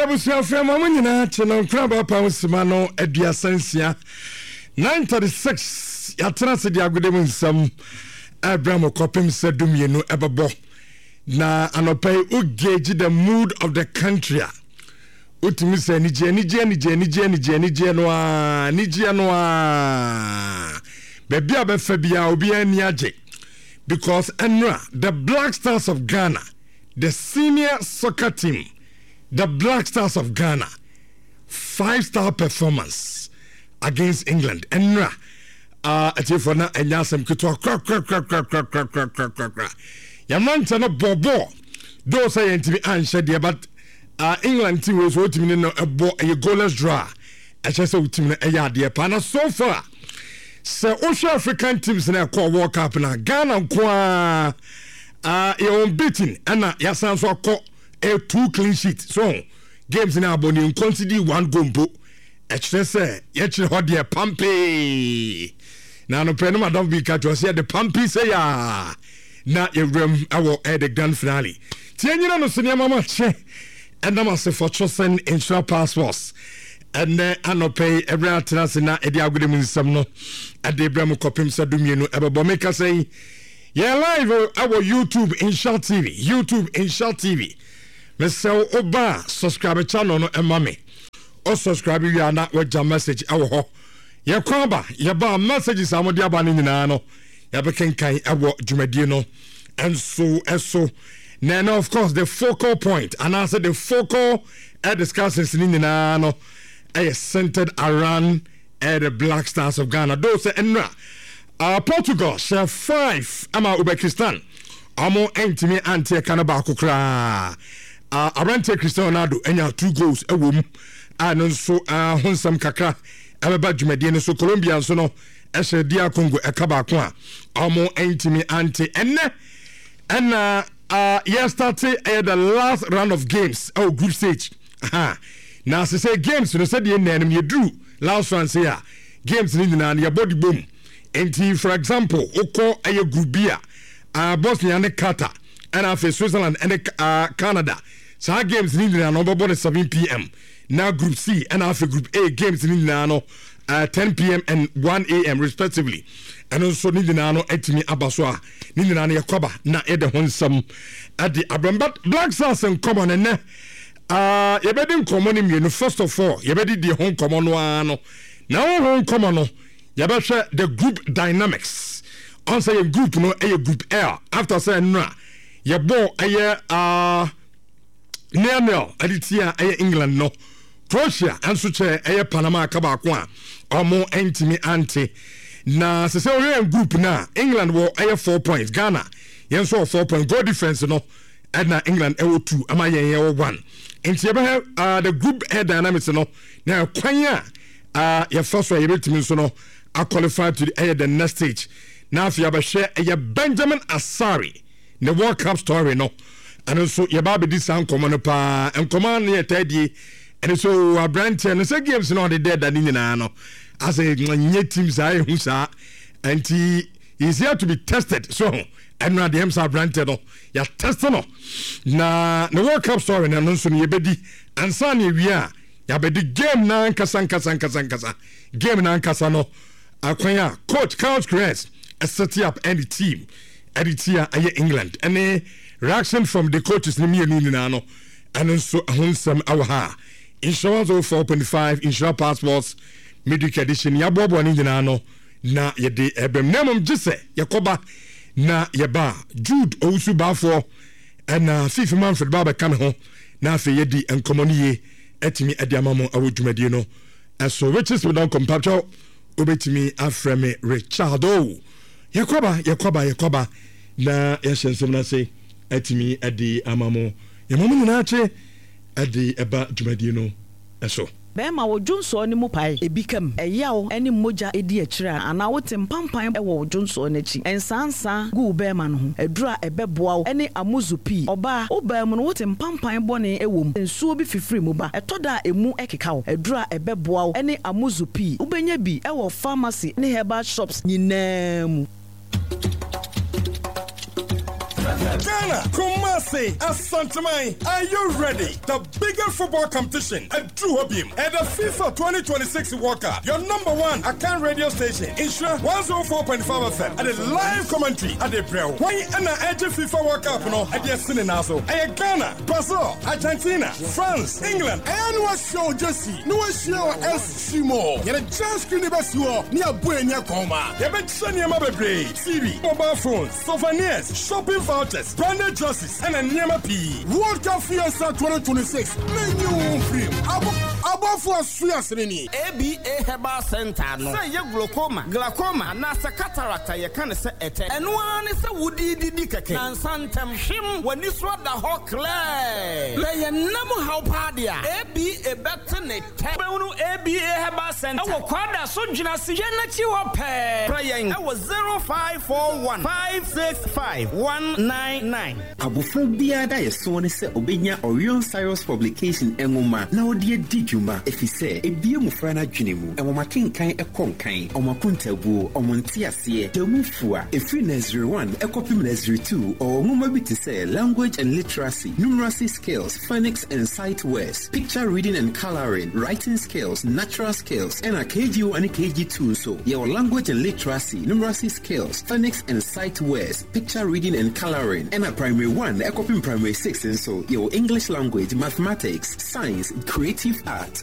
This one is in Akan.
abusuafo ma mo nyinaa kye no nkora baapa ho sima no 36 9:36 yɛatena ase de agode mu nsɛm ɛbrɛ mo kɔpem sɛ 12 ɛbɛbɔ. Na anɔpa yi wo gauge the mood of the country a wotumi sɛ anigyeɛ anigyeɛ anigyeɛ anigyeɛ anigyeɛ anigyeɛ no ara anigyeɛ no ara baabi a bɛfa biara obiara ani agye because ɛnora the Black Stars of Ghana the senior soccer team the Black Stars of Ghana 5 star performance against England ɛnora. Ah, atiefoɔ na ɛnyɛ asɛm ketewa korakorakorakorakorakorakorakora. Yɛn mmeranteɛ no bɔ bɔɔl dɔɔ sɛ yɛntumi anhyɛ deɛ but uh, England team wei so wotumi ne no ɛbɔ ɛyɛ goalless draw a ɛkyɛ sɛ wotumi no ɛyɛ adeɛ paa na so far sɛ wohwɛ African teams na ɛkɔɔ World Cup na Ghana nko ara uh, yɛ unbeaten ɛna yɛasan so akɔ ɛyɛ two clean sheet so games na abɔ ne nconcede one goal mpo. Ɛkyerɛ sɛ yɛkyerɛ hɔ deɛ pampee. Na anɔpɛ no madamfo bi ka kyerɛ sɛ yɛde pampee sɛ yaa na yɛwuram ɛwɔ ɛyɛ the grand finale. Ti yɛnyina no so nneɛma ma kyɛ ɛnam ase for chosen nhyira passports. Ɛnɛ anɔpɛ yi ɛberɛ atena ase na ɛde agode mu nsɛm no ɛde brɛ mu kɔpem sɛ 12 ɛbɛbɔ me kasa yi. Yɛn live ɛwɔ YouTube Nhyira TV, YouTube Nhyira TV. Mesrɛ wo woba a subscribe channel no ɛma me. O subscribe wie a na wagya message ɛwɔ hɔ. Yɛkɔ aba, yɛba a messages a wɔde aba no nyinaa no yɛbɛkenkan ɛwɔ dwumadie no nso ɛso. Na ɛno of course the focal point anaasɛ the focal discussions no nyinaa no ɛyɛ centered around ɛyɛ the Black Stars of Ghana. Though sɛ nnura Portugal hyɛ 5 ama Uzbekistan ɔmo ntumi ante ɛka no baako koraa. Aberanteɛ Cristiano Ronaldo anya 2 goals ɛwɔ mu a no nso ho nsɛm kakra ɛbɛba dwumadie no so. Colombia nso no ɛhyɛ DR Congo ɛka baako a ɔmo ntumi ante. Ɛnɛ ɛna yɛ start ɛyɛ the last round of games ɛwɔ group stage. Ha na sɛ games no sɛdeɛ nnɛ no yɛduru last round sɛ a games no nyinaa no yɛbɔ de bom. Nti for example wokɔ ɛyɛ group B a Bosnia ne Qatar ɛna afei Switzerland ɛne Canada saa games no nyinaa no wɔbɛbɔ no 7 pm. Na group C ɛna afei group A games no nyinaa no 10 pm and 1 am respectively. Ɛno nso ne nyinaa no atumi aba so a ne nyinaa no yɛkɔba na yɛde ho nsɛm ɛde abrɛm. But Black Stars nkɔmɔ no nnɛ yɛbɛdi nkɔmɔ no mmienu. First of all yɛbɛdi deɛ ho nkɔmɔ no ara no na wo ho nkɔmɔ no yɛbɛhwɛ the group dynamics ɔn sɛ yɛn group no ɛyɛ group L after sɛ nnora yɛbɔ ɛyɛ 0-0 ɛde tia ɛyɛ England no. Croatia nso kyɛ ɛyɛ Panama aka baako a ɔmo ntumi ante. Na sɛ wɔhwɛ yɛn group no a England wɔ ɛyɛ 4 points, Ghana yɛn nso wɔ 4 points. Goal difference no ɛna England ɛwɔ 2 ama yɛn yɛwɔ 1. Nti yɛbɛhwɛ the group air dynamics no na kwan a yɛfa so a yɛbɛtumi nso no aqualify to the ɛyɛ the next stage. Na afei yɛabɛhwɛ ɛyɛ Benjamin Asare ne World Cup story no. Ɛno nso yɛba abɛdi saa nkɔmmɔ no paa. Nkɔmmɔ no yɛ taa die ɛno so aberanteɛ no sɛ games no ɔde dɛ da ne nyinaa no asɛ nyɛ team saa ɛhu saa nti is here to be tested so ho ɛno adeɛ m sɛ aberanteɛ no yɛatest no na ne World Cup story no ɛno nso no yɛbɛdi ansa ne awie a yɛabɛdi game na ankasa nkasa nkasa nkasa game na ankasa no akwan a coach Carlos Queiroz set up ɛne team ɛde tia ɛyɛ England ɛne reaction from the coaches ne mmienu nyinaa no ɛno nso ɛho nsɛm ɛwɔ ha. Nhyira 104.5 Nhyira Passports Midweek Edition yɛaboaboa ne nyinaa no na yɛde ɛbɛm na mmom gye sɛ yɛkɔba na yɛba Jude Owusu Baafoɔ ɛna Fifi Manfred ba bɛka me ho na afei yɛdi nkɔmmɔ no yie atumi ɛde ama mo ɛwɔ dwumadie no ɛso. Riches Medɔnkɔ mpatwɛw wobɛtumi afrɛ me Richard o. Yɛkɔba yɛkɔba yɛkɔba na yɛhyɛ nsɛm no ase atumi ɛde ama mo. Yɛma mo nyinaa kye ɛde ɛba dwumadie no ɛso. Bɛrima, wo dwonsɔɔ no mu pae, ebi ka mu, ɛyaw ne mogya di akyire a, anaa wote mpampan wɔ wo dwonsɔɔ no akyi, nsaansaa gu wo bɛrima no ho, aduru a ɛbɛboa wo ne amuzu pii. Ɔbaa, wo baa mu no wote mpampan bɔne wɔ mu, nsuo bi fifiri mu ba, ɛtɔ da a emu keka wo, aduru a ɛbɛboa wo ne amuzu pii. Wobɛnya bi wɔ pharmacy ne herbal shops nyinaa mu. Ghana, Kumasi, Asanteman, are you ready? The biggest football competition at True Hobim at the FIFA 2026 World Cup. Your number one Akan radio station, Insura 104.5 FM, at the live commentary at the Brel. Why and the FIFA World Cup no at the Sinenazo? Ghana, Brazil, Argentina, France, England. Ɛyɛ ne wahyia o Jesse, ne wahyia wɔ SG Mall. Yɛde giant screen ne bɛsi hɔ ne yɛabɔ ani akɔn ma. Yɛbɛkyerɛ nneɛma bebree: TV, mobile phones, souvenirs, shopping vouchers, branded jerseys, ɛna nneɛma pii. World Cup Fiesta 2026, menyi wo ho mfiri mu. Abɔ abɔfoɔ aso asene ni. ABA Herbal Centre no, sɛ ɛyɛ glaucoma, glaucoma, anaasɛ cataract a yɛka no sɛ ɛtɛ, ɛno ara ne sɛ wode didi kɛkɛ, nansa ntɛm, hwem, w'ani so ada hɔ klɛɛ. Na ɛyɛ nna mu haw paa deɛ a, ABA bɛte ne tɛ. Wobɛhunu ABA Herbal Centre wɔ Kwada so Dwenase yɛn akyi hɔ pɛɛ. Frɛ yɛn wɔ 0541 565 199. Abofra biara daeɛsoɔ ne sɛ ɔbɛnya Orion Cyrus Publication nwoma na ɔde adi dwuma efisɛ ebue mmofra no adwene mu, nwoma kenkan kɔ nkan, wɔn akontaabuo, wɔn nteaseɛ, da mu fua. Ɛfiri Nursery One kɔpem Nursery Two, ɔwɔ nwoma bi te sɛ Language and Literacy, Numeracy Skills, Phonics and Sight Words, Picture Reading and Colouring, Writing Skills, Natural Skills, ɛna KG1 ne KG2 nso, yɛwɔ Language and Literacy, Numeracy Skills, Phonics and Sight Words, Picture Reading and Colouring, ɛna Primary 1 ɛkɔpem Primary 6 nso, yɛwɔ English Language, Mathematics, Science, Creative Art.